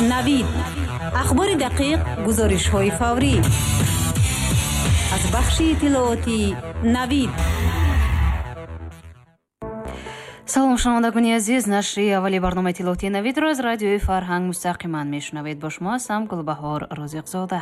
Навид. Ахбори дақиқ, гузоришҳои фаврӣ. Аз бахши иттилоотии Навид. Салом, шунавандагони азиз. Нашри аввали барномаи иттилоотии Навидро аз радиои Фарҳанг мустақиман мешунавед. Бо шумо ҳастам Гулбаҳор Розиқзода.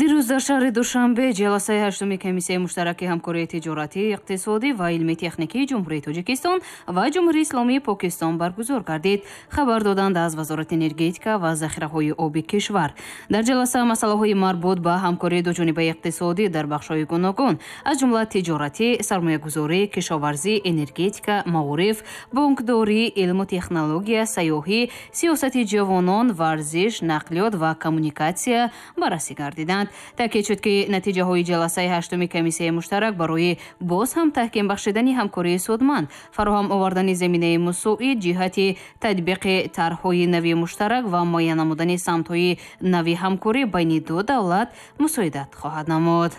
Дирӯз дар шаҳри Душанбе ҷаласаи ҳаштуми комиссияи муштараки ҳамкории тиҷоратӣ, иқтисодӣ ва илми техникии Ҷумҳурии Тоҷикистон ва Ҷумҳурии Исломии Покистон баргузор гардид. Хабар доданд аз Вазорати энергетика ва захираҳои оби кишвар. Дар ҷаласа масъалаҳои марбут ба ҳамкории дуҷонибаи иқтисодӣ дар бахшҳои гуногун, аз ҷумла тиҷоратӣ, сармоягузорӣ, кишоварзӣ, энергетика, маориф, бонкдорӣ, илму технология, сайёҳӣ, сиёсати ҷавонон, варзиш, нақлиёт ва коммуникатсия баррасӣ гардиданд. Таъкид шуд, ки натиҷаҳои ҷаласаи ҳаштуми комиссияи муштарак барои боз ҳам таҳким бахшидани ҳамкории судманд, фароҳам овардани заминаи мусоид ҷиҳати татбиқи тарҳҳои нави муштарак ва муайян намудани самтҳои нави ҳамкорӣ байни ду давлат мусоидат хоҳад намуд.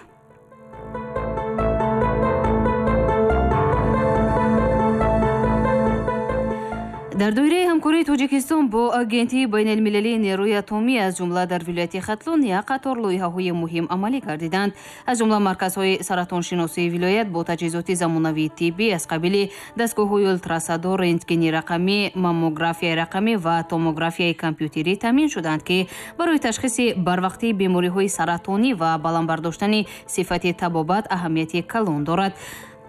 Дар доираи ҳамкории Тоҷикистон бо Агентии байналмилалии нерӯи атомӣ, аз ҷумла дар вилояти Хатлон, як қатор лоиҳаҳои муҳим амалӣ гардиданд. Аз ҷумла марказҳои саратоншиносии вилоят бо таҷҳизоти замонавии тиббӣ аз қабили дастгоҳҳои ултрасадо, рентгени рақамӣ, маммографияи рақамӣ ва томографияи компютерӣ таъмин шуданд, ки барои ташхиси барвақтии бемориҳои саратонӣ ва баланд бардоштани сифати табобат аҳамияти калон дорад.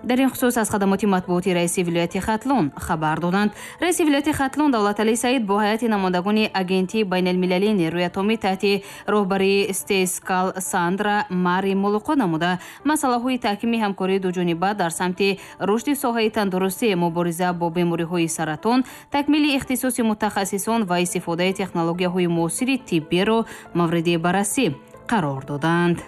Дар ин хусус аз хадамоти матбуоти раиси вилояти Хатлон хабар доданд. Раиси вилояти Хатлон Давлаталӣ Саид бо ҳайати намояндагони Агентии байналмилалии нерӯи атомӣ таҳти роҳбарии Стейскал Сандра Мари мулоқот намуда, масъалаҳои таҳкими ҳамкории дуҷониба дар самти рушди соҳаи тандурустӣ, мубориза бо бемориҳои саратон, такмили ихтисоси мутахассисон ва истифодаи технологияҳои муосири тиббиро мавриди баррасӣ қарор доданд.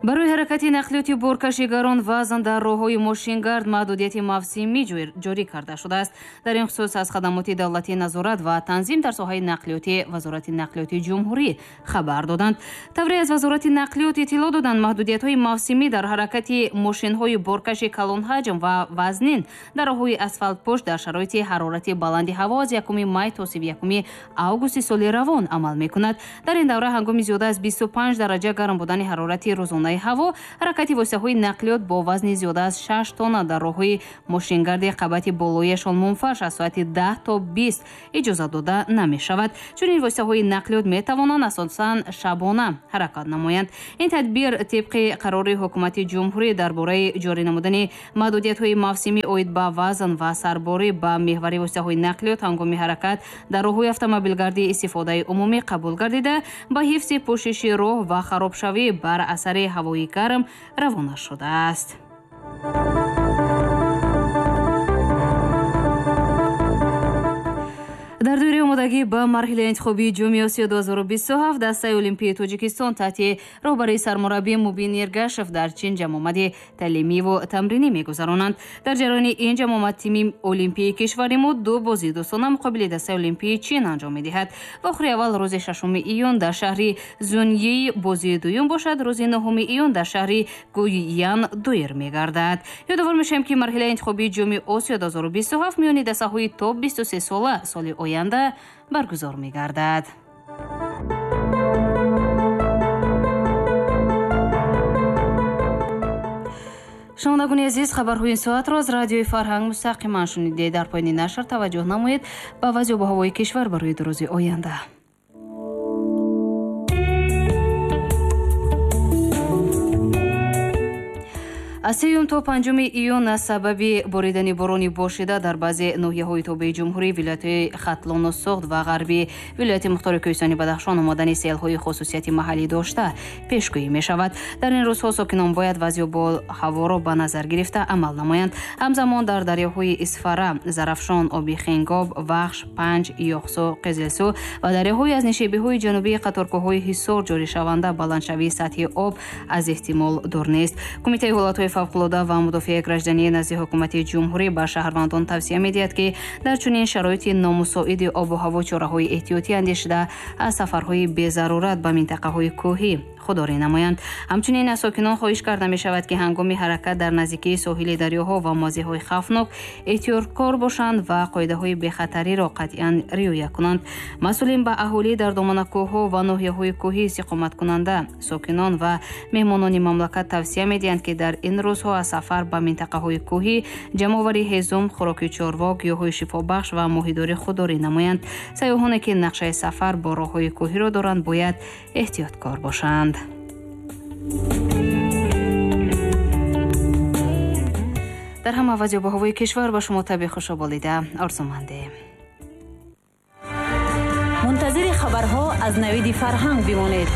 Барои ҳаракати нақлиёти боркашигарон вазн дар роҳҳои мошингард маҳдудияти мавсимӣ ҷорӣ карда шудааст. Дар ин хусус аз хадамоти давлатии назорат ва танзим дар соҳаи нақлиёти Вазорати нақлиёти ҷумҳурӣ хабар доданд. Тавре аз Вазорати нақлиёт иттилоъ доданд, маҳдудиятҳои мавсимӣ дар ҳаракати мошинҳои боркаши калонҳаҷм ва вазнин дар роҳҳои асфалтпӯш дар шароити ҳарорати баланди ҳаво аз 1 май то 31 августи соли равон амал мекунад. Дар ин давра ҳангоми зиёда аз 25 дараҷа гарм будани ҳарорати рӯзонаи ҳаво, ҳаракати воситаҳои нақлиёт бо вазни зиёда аз 6 тонна дар роҳҳои мошингарди қабати болояшон мунфарш аз соати 10 то 20 иҷозат дода намешавад. Чунин воситаҳои нақлиёт метавонанд асосан шабона ҳаракат намоянд. Ин тадбир тибқи қарори ҳукумати ҷумҳурӣ дар бораи ҷорӣ намудани маҳдудиятҳои мавсимӣ оид ба вазн ва сарборӣ ба меҳвари воситаҳои нақлиёт ҳангоми ҳаракат дар роҳҳои автомобилгардии истифодаи умумӣ қабул гардида, ба ҳифзи пӯшиши роҳ ва харобшавӣ бар асари ҳавои гарм равона шудааст. Дар доираи омодагӣ ба марҳилаи интихобии Ҷоми Осиё 2027 дастаи Олимпии Тоҷикистон таҳти роҳбарии сармураббӣ Мубин Эргашев дар Чин ҷамъомади таълимиву тамринӣ мегузаронанд. Дар ҷараёни ин ҷамъомад тими Олимпии кишвари мо ду бозии дӯстона муқобили дастаи Олимпии Чин анҷом медиҳад. Вохӯри аввал рӯзи 6 июн дар шаҳри Зуньи, бозии дуюм бошад рӯзи 9 июн дар шаҳри Гуйян доир мегардад. Ёдовар мешавем, ки марҳилаи интихобии Ҷоми Осиё 2027 миёни дастаҳои то 23 сола соли оянда баргузор мегардад. Шунавандагони азиз, хабарҳои ин соатро аз радиои Фарҳанг мустақиман шунидед. Дар поёни нашр таваҷҷӯҳ намоед ба вазъи обу ҳавои кишвар барои ду рӯзи оянда. Аз 3 то 5 июн аз сабаби боридани борони бошида дар баъзе ноҳияҳои тобеи ҷумҳурӣ, вилоятҳои Хатлону Суғд ва ғарби вилояти мухтори Кӯҳистони Бадахшон омадани селҳои хусусияти маҳаллӣ дошта пешгӯӣ мешавад. Дар ин рӯзҳо сокинон бояд вазъи обу ҳаворо ба назар гирифта амал намоянд. Ҳамзамон дар дарёҳои Исфара, Зарафшон, Оби Хенгоб, Вахш, Панҷ, Ёхсу, Қизилсу ва дарёҳои аз нишебиҳои ҷанубии қаторкӯҳҳои Ҳисор ҷоришаванда баландшавии сатҳи об аз эҳтимол дур нест. Кумитаи ҳолатҳои Фавқулода ва мудофиаи граждании назди ҳукумати ҷумҳурӣ ба шаҳрвандон тавсия медиҳад, ки дар чунин шароити номусоиди обу ҳаво чораҳои эҳтиётӣ андешида, аз сафарҳои безарурат ба минтақаҳои кӯҳӣ худдорӣ намоянд. Ҳамчунин аз сокинон хоҳиш карда мешавад, ки ҳангоми ҳаракат дар наздикии соҳили дарёҳо ва мавзеъҳои хавфнок эҳтиёткор бошанд ва қоидаҳои бехатариро қатъиян риоя кунанд. Масъулин ба аҳолӣ дар доманакӯҳҳо ва ноҳияҳои кӯҳӣ истиқоматкунанда, сокинон ва меҳмонони мамлакат тавсия медиҳанд, ки дар ин рӯзҳо аз сафар ба минтақаҳои кӯҳӣ, ҷамъоварии ҳезум, хӯроки чорво, гиёҳҳои шифобахш ва моҳидорӣ худдорӣ намоянд. Сайёҳоне ки нақшаи сафар бо роҳҳои кӯҳиро доранд, бояд эҳтиёткор бошанд. Дар ҳама вазъи обу ҳавои кишвар ба шумо табъи хушоболида орзумандем. Мунтазири хабарҳо аз Навиди Фарҳанг бимонед.